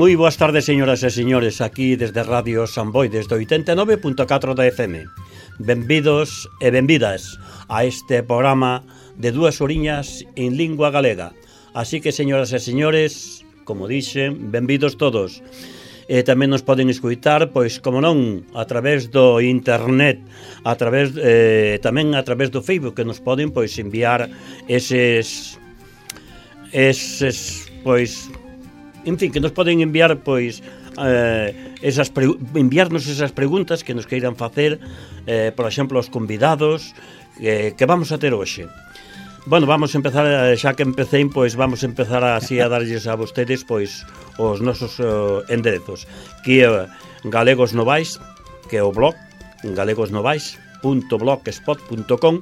Moi boas tardes, señoras e señores, aquí desde Radio Samboy, desde 89.4 da FM. Benvidos e benvidas a este programa de 2 horiñas en lingua galega. Así que, señoras e señores, como dixen, benvidos todos. E tamén nos poden escutar, pois, como non, a través do internet, tamén a través do Facebook, que nos poden, pois, enviar eses pois, en fin, que nos poden enviar, pois, enviarnos esas preguntas que nos queiran facer, por exemplo, os convidados que vamos a ter hoxe. Bueno, vamos a empezar, xa que empecé, pois vamos a empezar así a darlles a vostedes, pois, os nosos enderezos, que é Galegos Novais, que é o blog galegosnovais.blogspot.com,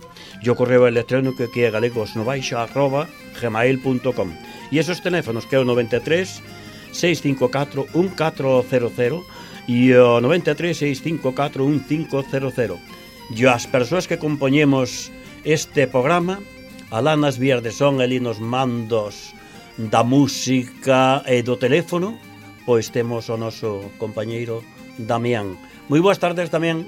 e o correo electrónico que é galegosnovais@gmail.com. E esos teléfonos que é o 93 654 1400 e o 93 654 1500. E as persoas que compoñemos este programa, alá nas vías de son, ali nos mandos da música e do teléfono, pois temos o noso compañeiro Damián. Moi boas tardes, Damián.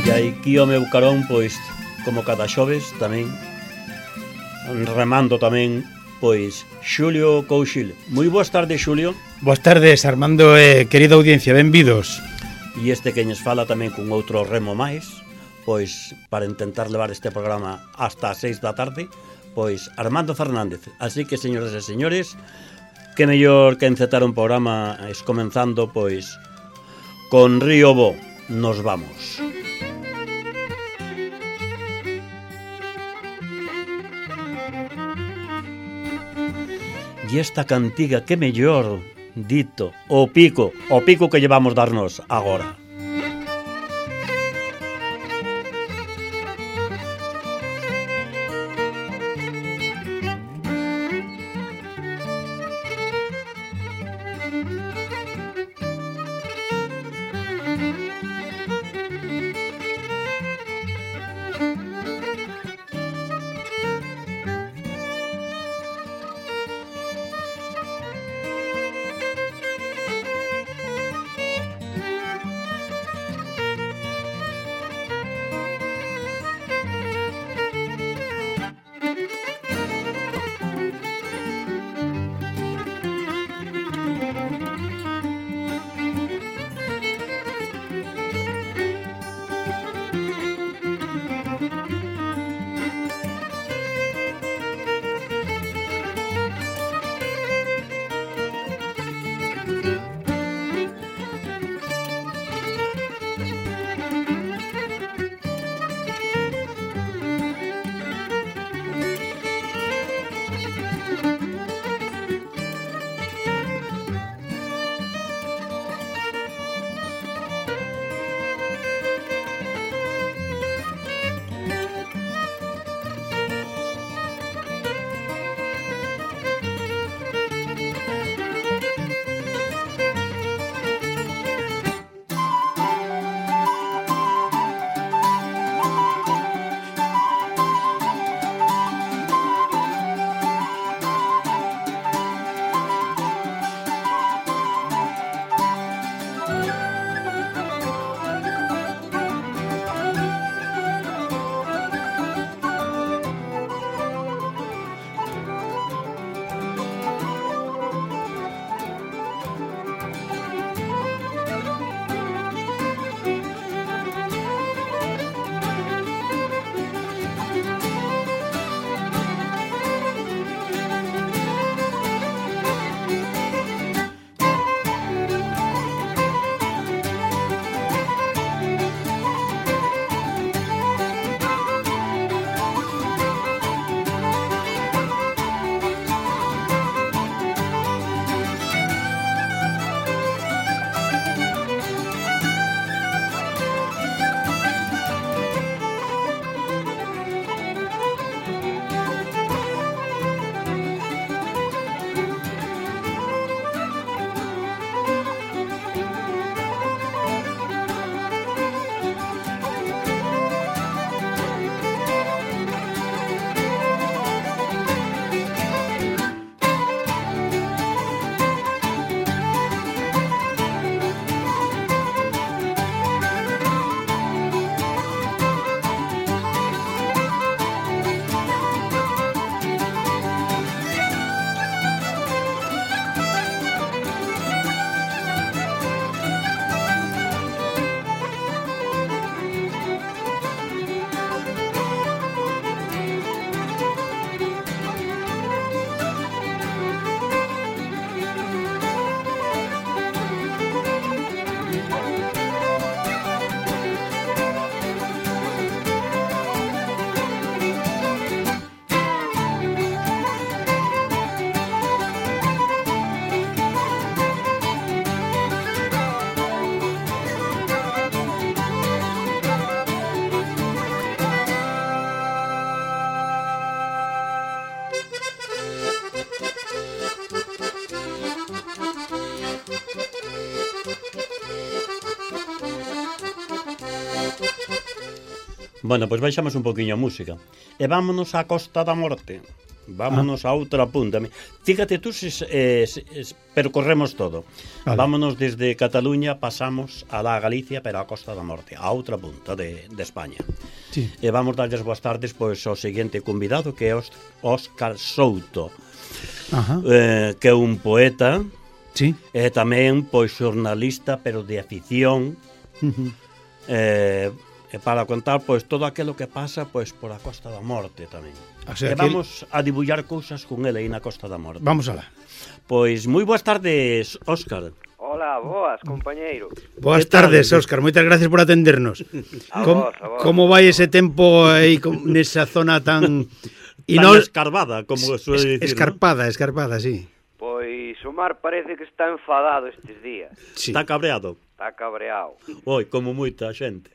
E aquí o meu carón, pois, como cada xoves, tamén remando tamén, pois, Xulio Couchil. Moi boas tardes, Xulio. Boas tardes, Armando e querida audiencia, benvidos. E este que nos fala tamén con outro remo máis, pois, para intentar levar este programa hasta as 6 da tarde, pois, Armando Fernández. Así que, señoras e señores, que mellor que encetar un programa comenzando, pois, con Río Bo, nos vamos. E esta cantiga, que mellor dito, o pico que llevamos darnos agora. Bueno, pois baixamos un poquinho a música. E vámonos á Costa da Morte. Vámonos a outra punta. Fíjate tú percorremos todo. Vale. Vámonos desde Cataluña, pasamos a la Galicia, pero a Costa da Morte, a outra punta de España. Sí. E vamos darlles boas tardes pois ao seguinte convidado, que é Óscar Souto. Ajá. Que é un poeta, Sí. e tamén pois xornalista, pero de afición. E para contar pois todo aquilo que pasa pois por a Costa da Morte tamén. O sea, E vamos a dibullar cousas con ele aí na Costa da Morte. Vamos alá. Pois moi boas tardes, Óscar. Hola, boas, compañeiro. Boas Que tal? tardes, Óscar. Moitas gracias por atendernos. A Com- vos, a vos. Como vai ese tempo aí nesa zona tan Tan escarbada, como suele dicir, escarpada, sí. Pois o mar parece que está enfadado estes días. Sí. ¿no? Está cabreado. Está cabreado. Oi, como moita xente.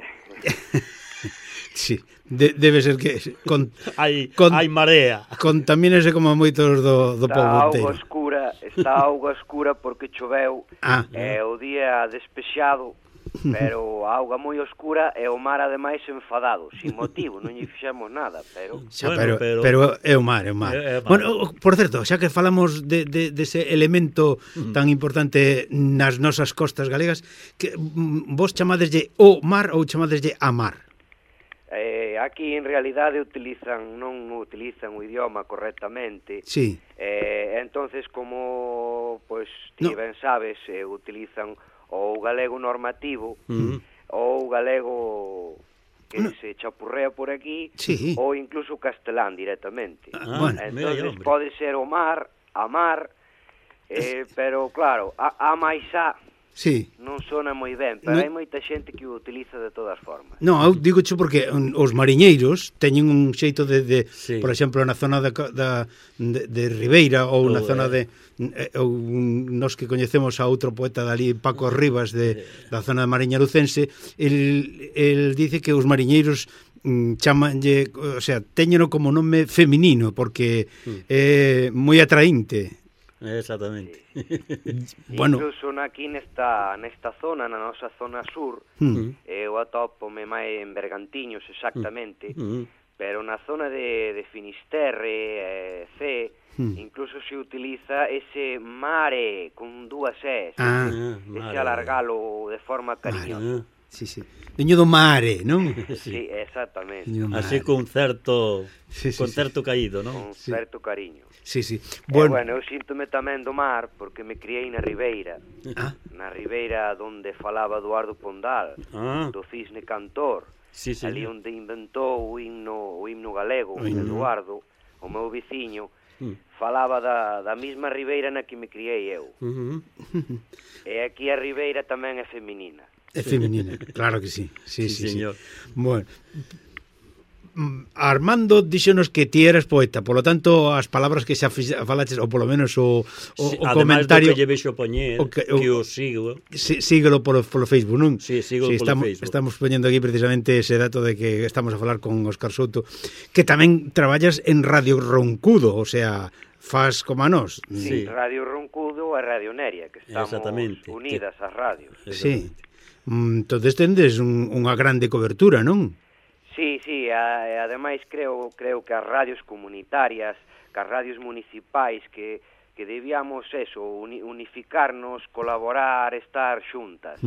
Sí. Debe ser que Hai Con- marea. contamínese como moitos do Está povo auga inteiro. auga escura porque choveu. Ah. É o día despexado, pero a auga moi oscura e o mar ademais enfadado, sin motivo, non lle fixemos nada, pero Xa, Bueno, pero é o mar, é o mar. É o mar. Bueno, por certo, xa que falamos dese elemento tan importante nas nosas costas galegas, que vos chamadeslle o mar ou chamadeslle a mar? aquí en realidade non utilizan o idioma correctamente. Sí. Entonces, como pois ti No. ben sabes, utilizan o galego normativo ou o galego que se chapurrea por aquí, Sí. ou incluso o castelán directamente. Bueno. mira aí, Entonces hombre. pode ser o mar, a mar, pero claro, a máis a Sí. non sona moi ben, pero No. hai moita xente que o utiliza de todas formas. Non, eu digo xo porque os mariñeiros teñen un xeito Sí. por exemplo, na zona de Ribeira ou na zona de ou nos que coñecemos a outro poeta dali, Paco Rivas da zona de Mariña Lucense, el dice que os mariñeiros chamanlle, o sea, téñeno como nome feminino porque é moi atraínte. Exactamente. Bueno. Incluso aquí nesta zona, na nosa zona sur, eu atópome máis en Bergantiños exactamente, pero na zona de Finisterre, C, incluso se utiliza ese mare con dúas S, ese mare. alargalo de forma cariñosa. Sí, sí. Veño do mare, non? Sí, exactamente, Veño do mare. Así con certo Sí, sí, con sí. certo caído, non? con certo cariño. Sí, sí. Bueno, eu síntome tamén do mar porque me criei na Ribeira, Ah, na Ribeira onde falaba Eduardo Pondal, Ah. do Cisne Cantor, Sí, sí. ali onde inventou o himno galego, Eduardo, o meu veciño, falaba da mesma Ribeira na que me criei eu. E aquí a Ribeira tamén é feminina. é feminina, claro que sí. Sí, Sí, sí, señor. sí. Bueno, Armando díxonos que ti eras poeta, polo tanto as palabras que xa falaches, ou polo menos o comentario Ademais do que lle vexo poñer, que o sigo. síguelo polo Facebook, non? Sí, síguelo polo Facebook. Estamos poñendo aquí precisamente ese dato de que estamos a falar con Óscar Souto, que tamén traballas en Radio Roncudo, o sea, faz como a nós. Sí. Radio Roncudo e Radio Neria, que estamos Exactamente. unidas as radios. Sí. Entonces tendes unha grande cobertura, non? Sí, ademais creo que as radios comunitarias, que as radios municipais que debíamos eso, unificarnos, colaborar, estar xuntas.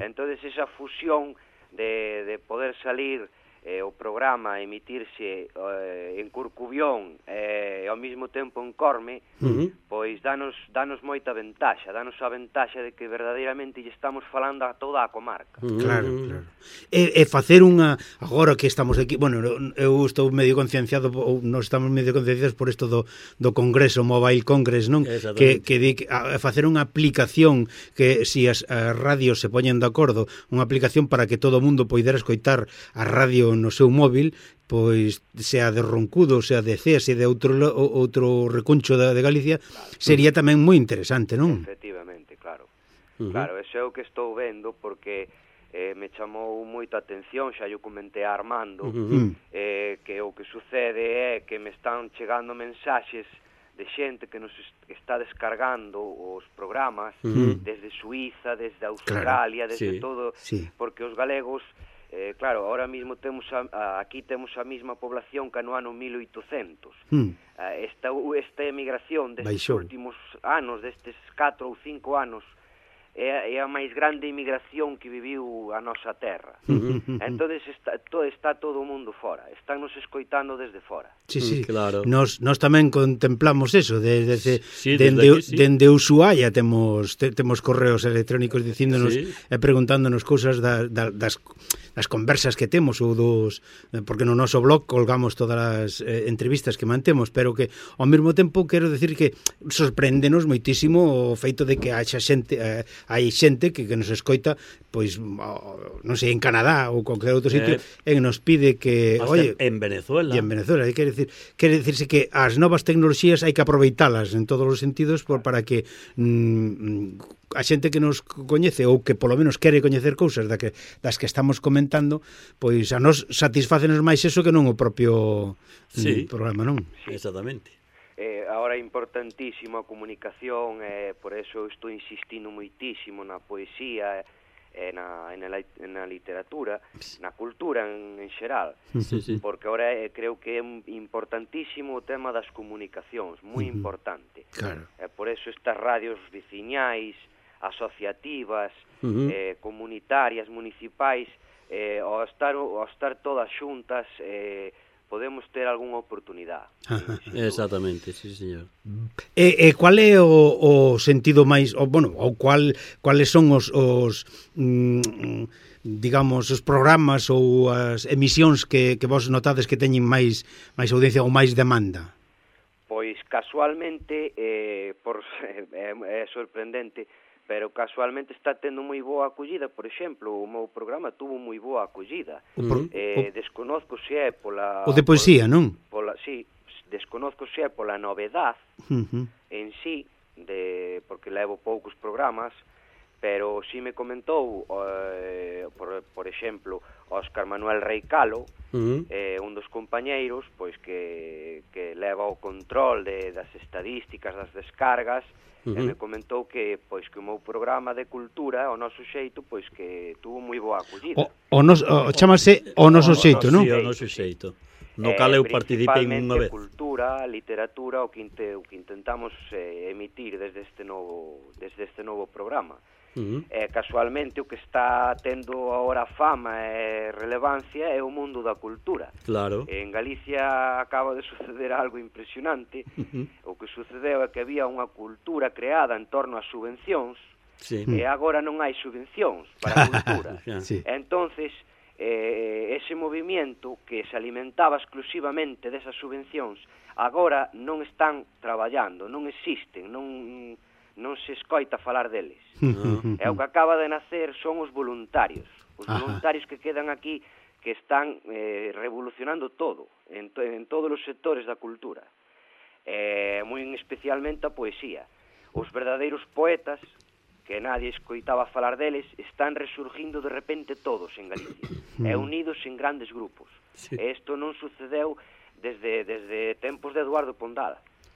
Entonces esa fusión de poder salir o programa emitirse en Corcubión e ao mesmo tempo en Corme, pois danos moita ventaxa, danos a ventaxa de que verdadeiramente lle estamos falando a toda a comarca. Claro, claro. E facer unha, agora que estamos aquí, bueno, eu estou medio concienciado, ou nós estamos medio concienciados por isto do Congreso, Mobile Congress, non? Que di a facer unha aplicación que si as radios se poñen de acordo, unha aplicación para que todo o mundo poidera escoitar a radio no seu móvil, pois sea de Roncudo, sea de Cea, sea de outro recuncho de Galicia, sería tamén moi interesante, non? Efectivamente, claro. Claro, eso é o que estou vendo porque me chamou moita atención, xa yo comentei a Armando, que o que sucede é que me están chegando mensaxes de xente que nos está descargando os programas desde Suiza, desde Australia, desde todo, porque os galegos Claro, ahora mismo temos aquí temos a mesma población que no ano 1800. Esta emigración destes últimos anos, destes 4 ou 5 anos, é a máis grande emigración que viviu a nosa terra. Entonces está todo o mundo fora, están nos escoitando desde fora. Sí, claro. Nos tamén contemplamos eso, dende Ushuaia temos correos electrónicos dicíndonos e preguntándonos cousas das conversas que temos ou porque no noso blog colgamos todas as entrevistas que mantemos, pero que ao mesmo tempo quero decir que sorpréndenos moitísimo o feito de que hai xente que nos escoita, pois non sei, en Canadá ou cualquier outro sitio, e nos pide que, oye, en Venezuela. E en Venezuela, quere dicirse que as novas tecnoloxías hai que aproveitalas en todos os sentidos para que a xente que nos coñece ou que polo menos quere coñecer cousas das que estamos comentando, pois a nos satisfácenos máis eso que non o propio programa, non? Exactamente. Ahora é importantísimo a comunicación, por eso estou insistindo moitísimo na poesía, na literatura, na cultura en xeral, porque ahora creo que é importantísimo o tema das comunicacións, moi importante. Por eso estas radios veciñais, asociativas, comunitarias, municipais, ao estar todas xuntas, podemos ter algunha oportunidade. Exactamente, sí, señor. E qual é o sentido máis, cuáles son os digamos, os programas ou as emisións que vos notades que teñen máis audiencia ou máis demanda? Pois casualmente, é sorprendente, pero casualmente está tendo moi boa acollida. Por exemplo, o meu programa tuvo moi boa acollida. Desconozco se é pola... O de poesía, non? Sí, desconozco se é pola novedad en sí, porque levo poucos programas, pero si me comentou, por exemplo, Óscar Manuel Reicalo, un dos compañeiros, pois que leva o control das estadísticas, das descargas, e me comentou que o meu programa de cultura, o noso xeito, pois que tuvo moi boa acollida. Chámase O Noso Xeito, non? Sí, O Noso Xeito. No cal eu participei unha vez. Principalmente cultura, literatura, o que intentamos emitir desde este novo programa. Casualmente o que está tendo agora fama e relevancia é o mundo da cultura. Claro. En Galicia acaba de suceder algo impresionante. O que sucedeu é que había unha cultura creada en torno ás subvencións, e agora non hai subvencións para a cultura. Entonces, ese movimiento que se alimentaba exclusivamente desas subvencións agora non están traballando, non existen, non se escoita falar deles. E o que acaba de nacer son os voluntarios que quedan aquí, que están revolucionando todo, en todos os sectores da cultura, moi especialmente a poesía. Os verdadeiros poetas, que nadie escoitaba falar deles, están resurgindo de repente todos en Galicia, e unidos en grandes grupos. E isto non sucedeu desde tempos de Eduardo Pondal,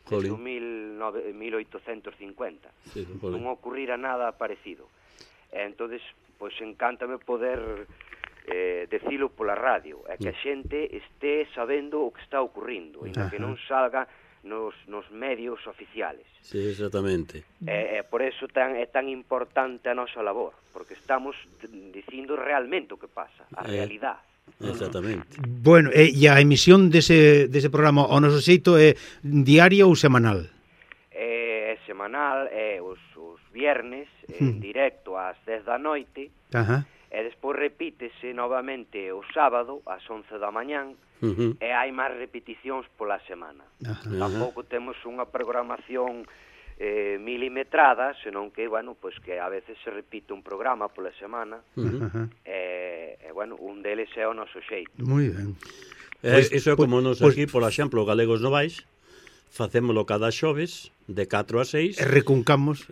desde o 1850. Non ocurrira nada parecido. Entonces, pois encántame poder decilo pola radio, e que a xente este sabendo o que está ocurrindo, e que non salga nos medios oficiales. Sí, exactamente. Por eso é tan importante a nosa labor, porque estamos dicindo realmente o que pasa, a realidade. Exactamente. Bueno, e a emisión dese programa O Noso Xeito é diaria ou semanal? É semanal, os viernes, en directo ás 10 da noite, e despois repítese novamente o sábado ás 11 da mañán, e hai máis repeticións pola semana. Tampouco temos unha programación milimetrada, senón que, que a veces se repite un programa pola semana, un deles é O Noso Xeito. Moi ben. Iso é como nos aquí, por exemplo, Galegos Novais, facémolo cada xoves, de 4 a 6. E recuncamos,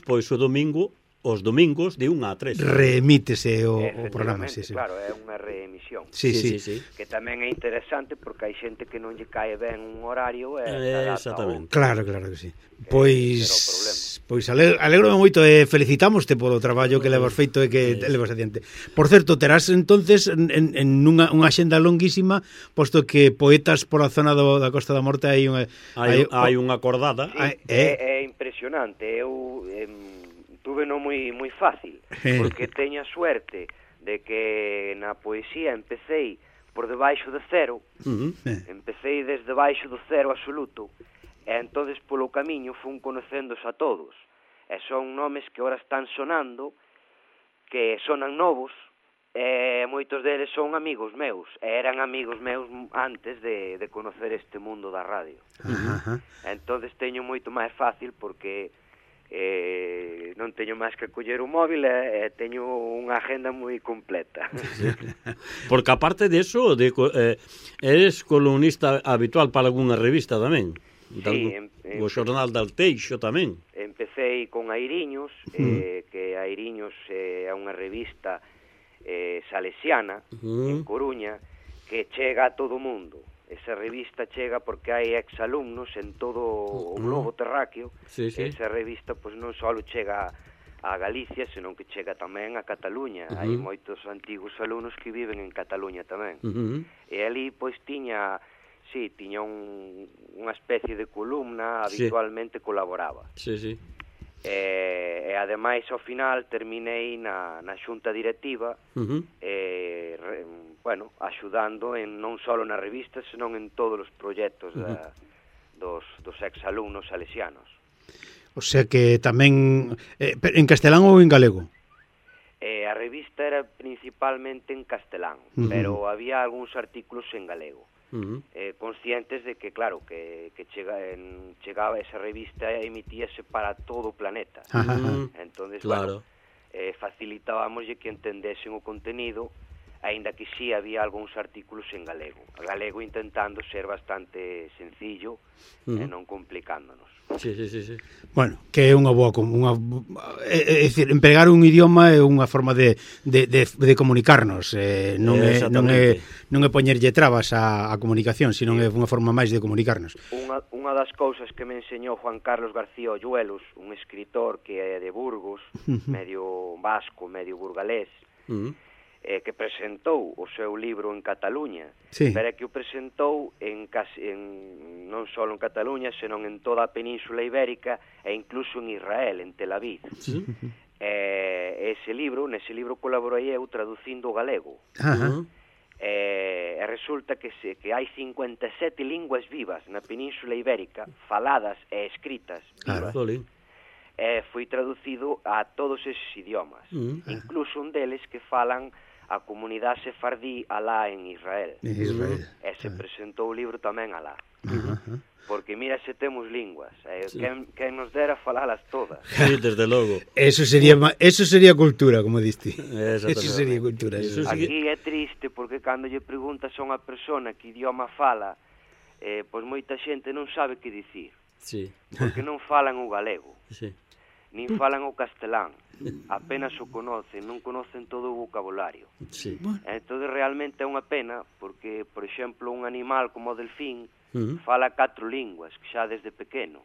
pois o domingo, os domingos de 1 a 3. Reemítese o programa, Claro, é unha reemisión. Sí. Que tamén é interesante porque hai xente que non lle cae ben un horario exactamente. Claro que sí. Pois Pois alegro moito e felicitámoste polo traballo que levas feito e que levas adiante. Por certo, terás entonces en unha axenda longuísima, posto que poetas pola zona da Costa da Morte hai unha acordada. Sí, é impresionante. Eu tuve no moi fácil, porque teño a suerte de que na poesía empecéi por debaixo de cero, empecéi desde baixo do cero absoluto, e entonces polo camiño fun conocéndose a todos, e son nomes que ora están sonando, que sonan novos, e moitos deles son amigos meus, e eran amigos meus antes de conocer este mundo da radio. Entonces teño moito máis fácil porque non teño máis que coller o móvil e teño unha agenda moi completa. Porque aparte de eso, eres columnista habitual para algunha revista tamén. Sí, o xornal de Alteixo tamén. Empecéi con Airiños, que Airiños é unha revista salesiana en Coruña que chega a todo o mundo. Esa revista chega porque hai exalumnos en todo o globo terráqueo. Esa revista pois non só chega a Galicia, senón que chega tamén a Cataluña. Hai moitos antigos alumnos que viven en Cataluña tamén. E ali pois tiña unha especie de columna, habitualmente colaboraba. E ademais ao final terminei na xunta directiva, axudando non só na revista, senón en todos os proxectos dos exalumnos salesianos. O sea que tamén en castelán ou en galego? A revista era principalmente en castelán, pero había algúns artículos en galego. Conscientes de que, claro, que chegaba esa revista e emitíase para todo o planeta. Entonces, claro, facilitábamos que entendesen o contenido, aínda que sí había algúns artículos en galego. A galego intentando ser bastante sencillo e non complicándonos. Sí. Bueno, que é unha boa... é dicir, empregar un idioma é unha forma de comunicarnos, non é poñerlle trabas á comunicación, sino é unha forma máis de comunicarnos. Unha das cousas que me enseñou Juan Carlos García Olluelos, un escritor que é de Burgos, medio vasco, medio burgalés, que presentou o seu libro en Cataluña, pero que o presentou non só en Cataluña, senón en toda a Península Ibérica e incluso en Israel, en Tel Aviv. Nese libro colaborei eu traducindo o galego. E resulta que hai 57 linguas vivas na Península Ibérica, faladas e escritas vivas. Foi traducido a todos esos idiomas, incluso un deles que falan a comunidade sefardí alá en Israel. E se presentou o libro tamén alá. Porque mira se temos linguas, quen nos dera falalas todas. Sí, desde logo. Eso sería cultura, como diste. Eso sería cultura. Aquí é triste porque cando lle preguntas a unha persona que idioma fala, pois moita xente non sabe que dicir. Porque non falan o galego. Nin falan o castelán, apenas o conocen, non conocen todo o vocabulario. Entón realmente é unha pena porque, por exemplo, un animal como o delfín fala 4 linguas, que xa desde pequeno.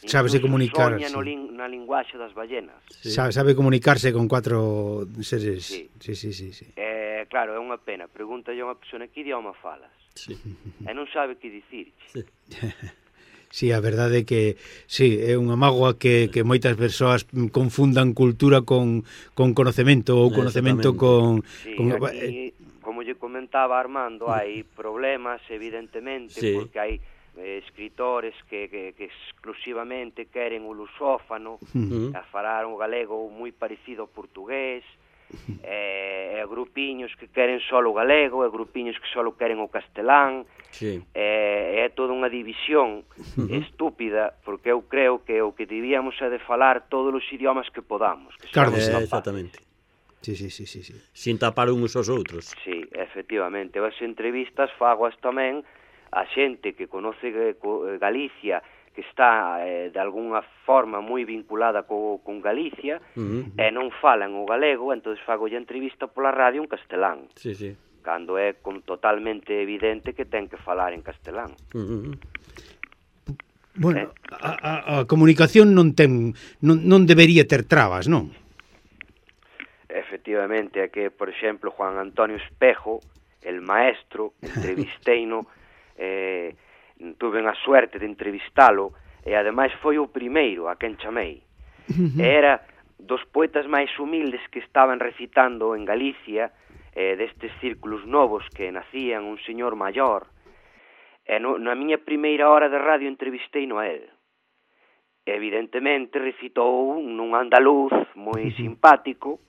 Sabe comunicar. Soña na linguaxe das ballenas. Sabe comunicarse con 4 seres. Sí. Claro, é unha pena. Pregúntalle a unha persona que idioma falas. E non sabe que dicir. Sí, a verdade é que é unha mágoa que moitas persoas confundan cultura con conocemento ou conocemento con... Aquí, como lle comentaba Armando, hai problemas evidentemente porque hai escritores que exclusivamente queren o lusófano, a falar un galego moi parecido ao portugués, e grupiños que queren só o galego, e grupiños que só queren o castelán. É toda unha división estúpida, porque eu creo que o que debíamos é de falar todos os idiomas que podamos. Exactamente. Sí. Sin tapar uns aos outros. Sí, efectivamente. As entrevistas fagoas tamén a xente que conoce Galicia, que está de alguna forma moi vinculada con Galicia, e non falan o galego, entón fago a entrevista pola radio en castelán. Cando é totalmente evidente que ten que falar en castelán. Bueno, a comunicación non debería ter trabas, non? Efectivamente, é que, por exemplo, Juan Antonio Espejo, el maestro, entrevisteino, tuve a suerte de entrevistalo, e ademais foi o primeiro a quen chamei. Era dos poetas máis humildes que estaban recitando en Galicia, destes círculos novos que nacían, un señor maior, e na miña primeira hora de radio entrevisteino a él. Evidentemente recitou nun andaluz moi simpático,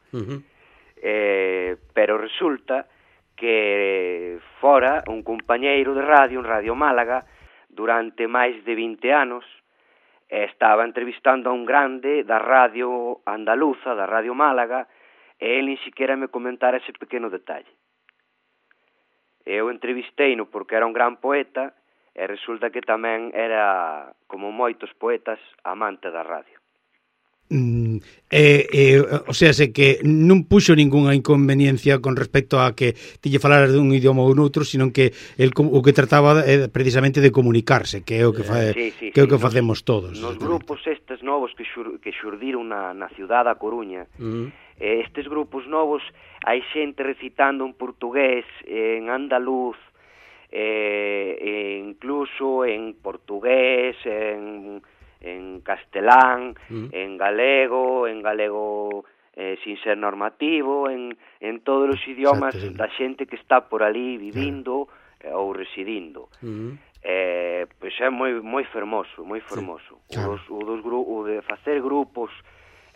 pero resulta que fora un compañeiro de radio, en Radio Málaga, durante máis de 20 anos, estaba entrevistando a un grande da radio andaluza, da Radio Málaga, e ele ni siquiera me comentara ese pequeno detalle. Eu entrevisteino porque era un gran poeta e resulta que tamén era, como moitos poetas, amante da radio. O sea, sé que non puxo ningunha inconveniencia con respecto a que ti lle falaras dun idioma ou noutro, sino que o que trataba precisamente de comunicarse, que é o que facemos todos. Nos grupos estes novos que xurdiron na ciudad da Coruña, estes grupos novos, hai xente recitando en portugués, en andaluz, incluso en portugués, en castelán, en galego sin ser normativo, en todos os idiomas da xente que está por ali vivindo ou residindo. Pois é moi fermoso, moi fermoso. O de facer grupos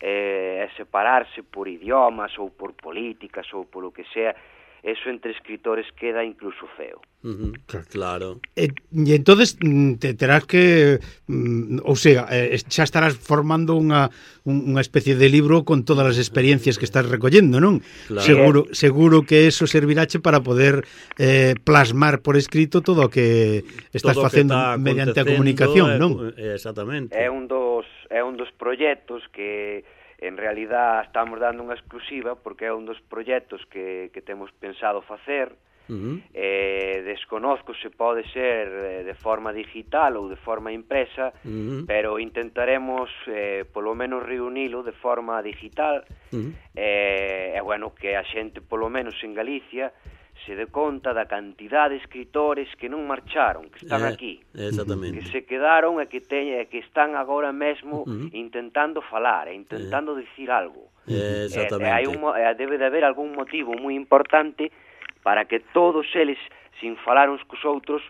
e separarse por idiomas ou por políticas ou por o que sea, eso entre escritores queda incluso feo. Claro. E entonces te terás que, ou sea, xa estarás formando unha especie de libro con todas as experiencias que estás recollendo, non? Claro. Seguro que eso servirache para poder plasmar por escrito todo o que estás facendo mediante a comunicación, non? Exactamente. É un dos proxectos que en realidad estamos dando unha exclusiva porque é un dos proxectos que temos pensado facer. Desconozco se pode ser de forma digital ou de forma impresa, pero intentaremos polo menos reunilo de forma digital, e bueno, que a xente polo menos en Galicia se dé conta da cantidad de escritores que non marcharon, que están aquí, que se quedaron e que están agora mesmo intentando falar e intentando dicir algo. Debe de haber algún motivo moi importante para que todos eles, sin falar uns cos outros,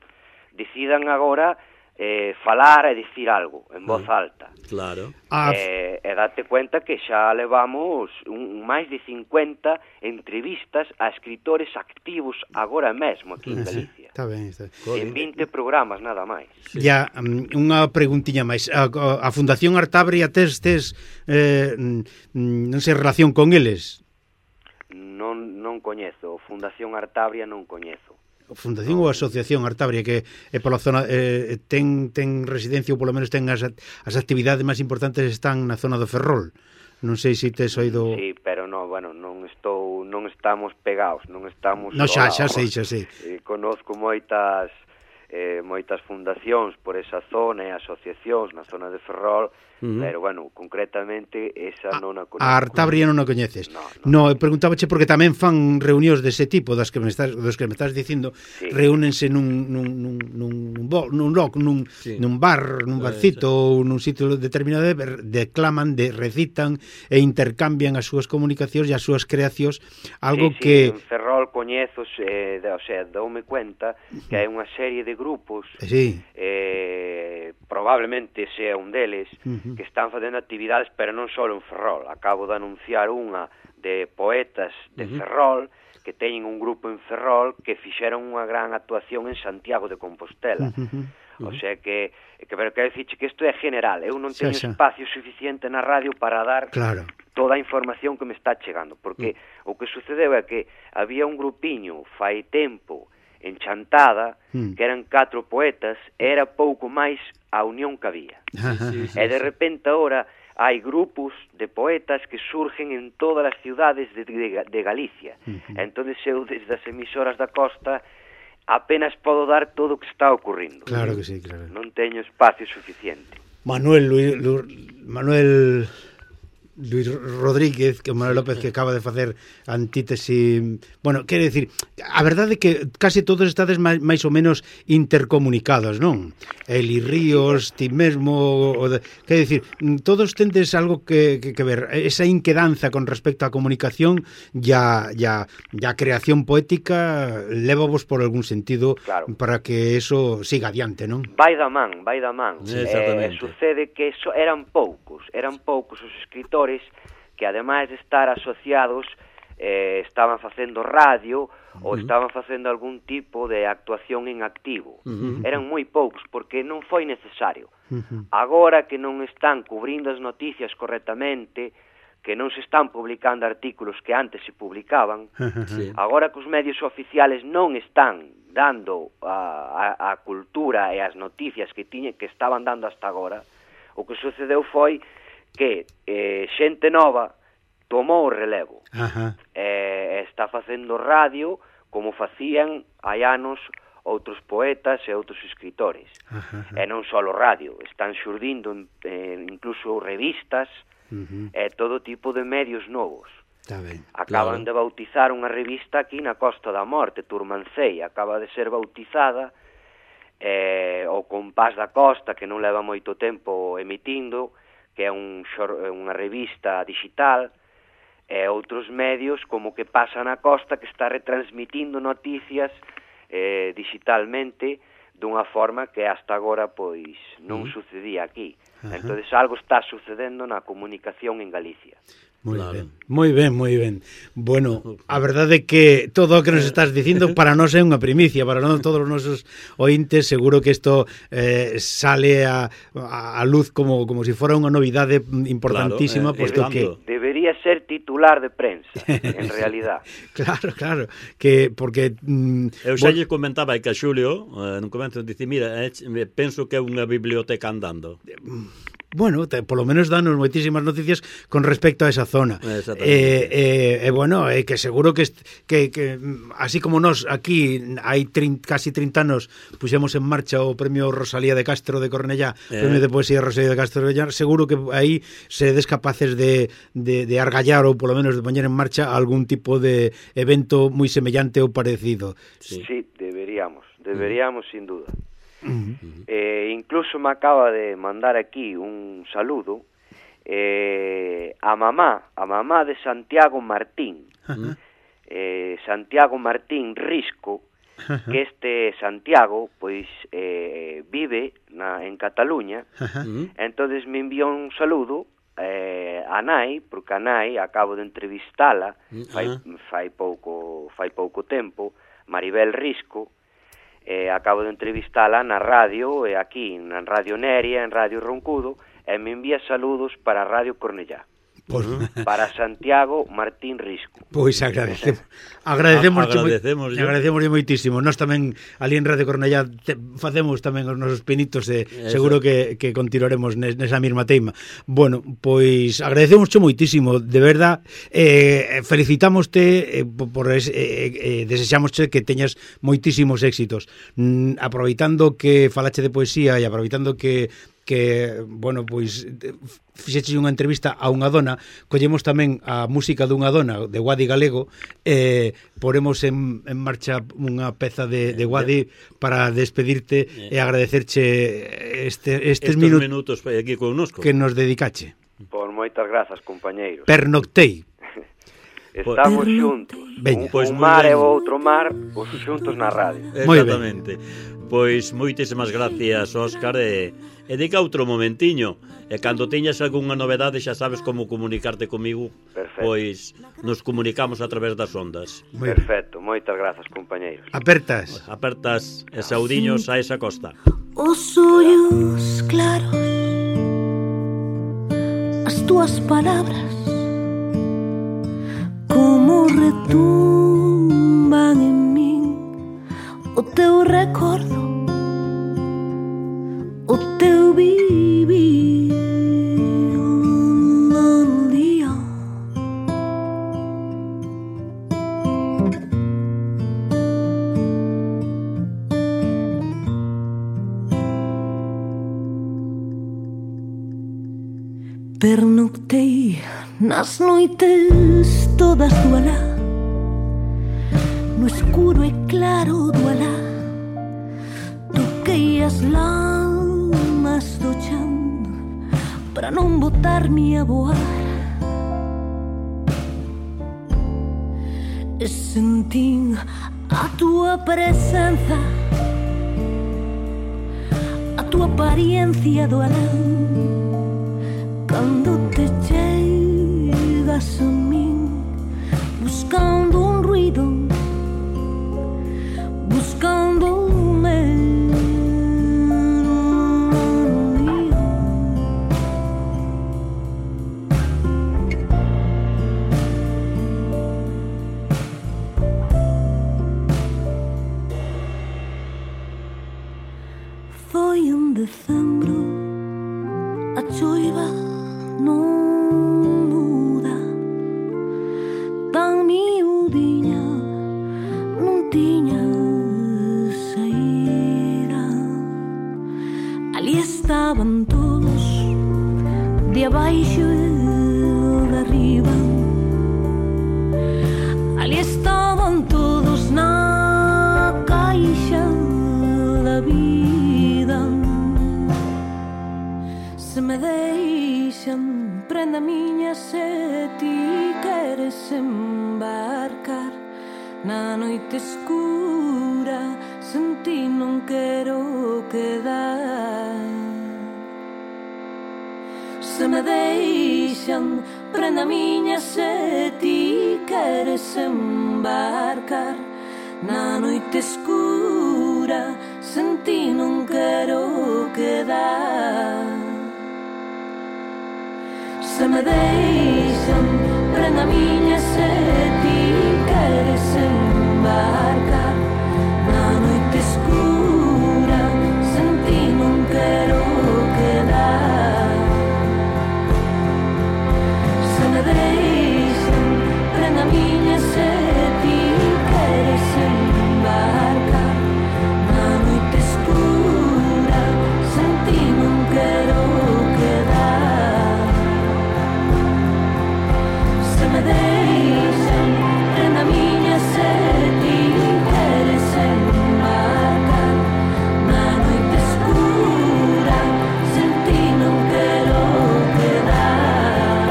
decidan agora falar e dicir algo en voz alta. Claro. E date cuenta que xa levamos máis de 50 entrevistas a escritores activos agora mesmo aquí en Galicia. Está ben. En 20 programas nada máis. Ya, unha preguntiña máis. A Fundación Artabria tes non sei, relación con eles? Non coñezo, Fundación Artabria non coñezo. Fundación ou Asociación Artabria, que pola zona ten residencia ou polo menos ten as actividades máis importantes están na zona do Ferrol. Non sei se tes oído... Sí, pero non estamos pegados, non estamos... No, xa sei. Conozco moitas fundacións por esa zona e asociacións na zona de Ferrol, pero, bueno, concretamente esa non a coñezo. A Artabria non a coñeces? No, preguntábache porque tamén fan reunións dese tipo, dos que me estás dicindo, reúnense nun bar, nun barcito ou nun sitio determinado, declaman, recitan e intercambian as súas comunicacións e as súas creacións, algo que... En Ferrol coñezos, o sea, doume cuenta que hai unha serie de grupos, probablemente sea un deles, que están facendo actividades, pero non só en Ferrol. Acabo de anunciar unha de poetas de Ferrol, que teñen un grupo en Ferrol que fixeron unha gran actuación en Santiago de Compostela. O sea que pero quero dicirche que isto é general. Eu non teño espacio suficiente na radio para dar toda a información que me está chegando, porque o que sucedeu é que había un grupiño fai tempo en Chantada, que eran 4 poetas, era pouco máis a unión que había. E de repente agora hai grupos de poetas que surgen en todas as ciudades de Galicia. Entonces eu desde as emisoras da costa apenas podo dar todo o que está ocurrindo. Claro que sí, claro. Non teño espacio suficiente. Manuel Luis Rodríguez, que Manuel López, que acaba de facer Antítesi. Bueno, quere dicir, a verdade é que case todos estades máis ou menos intercomunicados, non? Eli Ríos, ti mesmo, quere dicir, todos tendes algo que ver, esa inquedanza con respecto á comunicación e a creación poética lévavos por algún sentido, claro, para que eso siga adiante, non? Vai da man. Sucede que eran poucos os escritores que, ademais de estar asociados, estaban facendo radio ou estaban facendo algún tipo de actuación en activo. Eran moi poucos, porque non foi necesario. Agora que non están cubrindo as noticias correctamente, que non se están publicando artículos que antes se publicaban, agora que os medios oficiales non están dando a cultura e as noticias que estaban dando hasta agora, o que sucedeu foi que xente nova tomou o relevo, está facendo radio como facían hai anos outros poetas e outros escritores. E non só radio, están xurdindo incluso revistas e todo tipo de medios novos. Acaban de bautizar unha revista aquí na Costa da Morte, Turmancei, acaba de ser bautizada o Compás da Costa, que non leva moito tempo emitindo, que é unha revista digital, e outros medios como Que Pasa na Costa, que está retransmitindo noticias digitalmente dunha forma que hasta agora pois non sucedía aquí. Entonces algo está sucedendo na comunicación en Galicia. Moi ben. Bueno, a verdade é que todo o que nos estás dicindo para nós é unha primicia, para non todos os nosos ointes, seguro que isto sale a luz como se fora unha novidade importantísima, posto que debería ser titular de prensa, en realidad. Claro, que porque eu xa lle comentaba que a Xulio, nun comento, dice, mira, penso que é unha biblioteca andando. Bueno, polo menos danos moitísimas noticias con respecto a esa zona. Bueno, que seguro que así como nós aquí hai casi 30 anos puxemos en marcha o Premio Rosalía de Castro de Cornellá, Premio de Poesía Rosalía de Castro de Cornellá, seguro que aí seredes capaces de argallar ou polo menos de poñer en marcha algún tipo de evento moi semellante ou parecido. Sí, deberíamos sin duda. Incluso me acaba de mandar aquí un saludo a mamá de Santiago Martín, Santiago Martín Risco, que este Santiago pois vive en Cataluña. Entonces me enviou un saludo a nai, porque a nai acabo de entrevistala fai pouco tempo, Maribel Risco. Acabo de entrevistala na radio, aquí na Radio Neria, en Radio Roncudo, e me envía saludos para Radio Cornellá. Para Santiago Martín Risco. Pois agradecemos moitísimo. Nós tamén ali en Radio Cornellá facemos tamén os nosos pinitos e seguro que continuaremos nesa mesma teima. Bueno, pois agradecemos moitísimo, de verdad. Felicitámoste desexámoste que teñas moitísimos éxitos. Aproveitando que falache de poesía e aproveitando que bueno, pois fixeche unha entrevista a unha dona, collemos tamén a música dunha dona de Guadi Galego, poremos en marcha unha peza de Guadi para despedirte e agradecerche estes minutos aquí connosco que nos dedicache. Por moitas grazas, compañeiros. Pernoctei. Estamos xuntos. Un mar e o outro mar, os xuntos na radio. Exactamente. Pois moitísimas gracias, Óscar, e diga outro momentiño, e cando teñas algunha novedade xa sabes como comunicarte comigo. Perfecto. Pois nos comunicamos a través das ondas. Perfecto, moitas grazas, compañeiros. Apertas e saudiños a esa costa. Os ollos claros, as túas palabras como retumban en min, o teu recordo, o teu vivir no día. noctei nas noites todas do alá, no escuro e claro do alá, toquei as lamas do chan para non botar-me a voar. E sentín a tua presenza, a tua apariencia do alán, cando te chegas a min, buscando un ruido, buscando un medio. Foi en decembro, a choiva non muda, tan miudiña non tiña saída. Ali estaban todos, de abaixo e de arriba. Ali estaban todos na caixa da vida. Se me deixan, prenda miña, se ti queres embarcar na noite escura, sen ti non quero quedar. Se me deixan, prenda miña, se ti queres embarcar na noite escura, sen ti non quero quedar. Se me deixan, prenda miña, se ti queres embarcar na noite escura, sen ti non quero quedar. Se me deixan, prenda miña, se ti queres embarcar na noite escura, sen ti non quero quedar. Se me deixan, prenda miña, se ti queres embarcar na noite escura, sen ti non quero quedar.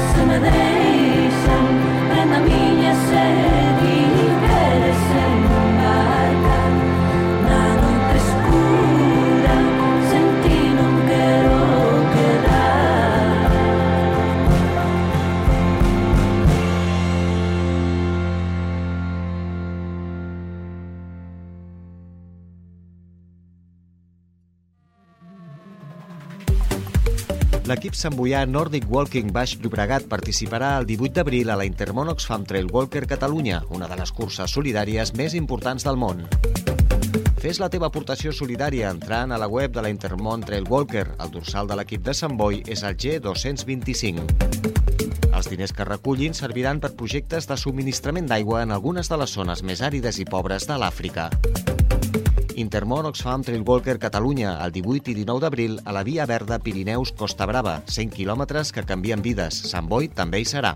Se me deixan, prenda miña, se ti queres embarcar na noite escura, sen ti non quero quedar. L'equip samboià Nordic Walking Baix Llobregat participarà el 18 d'abril a la Intermón Oxfam Trail Walker Catalunya, una de les curses solidàries més importants del món. Fes la teva aportació solidària entrant a la web de la Intermón Trail Walker. El dorsal de l'equip de Sant Boi és el G225. Els diners que recullin serviran per projectes de subministrament d'aigua en algunes de les zones més àrides i pobres de l'Àfrica. Intermón Oxfam Trail Walker Catalunya, el 18 i 19 d'abril, a la Via Verda Pirineus Costa Brava, 100 quilòmetres que canvien vides. Sant Boi també hi serà.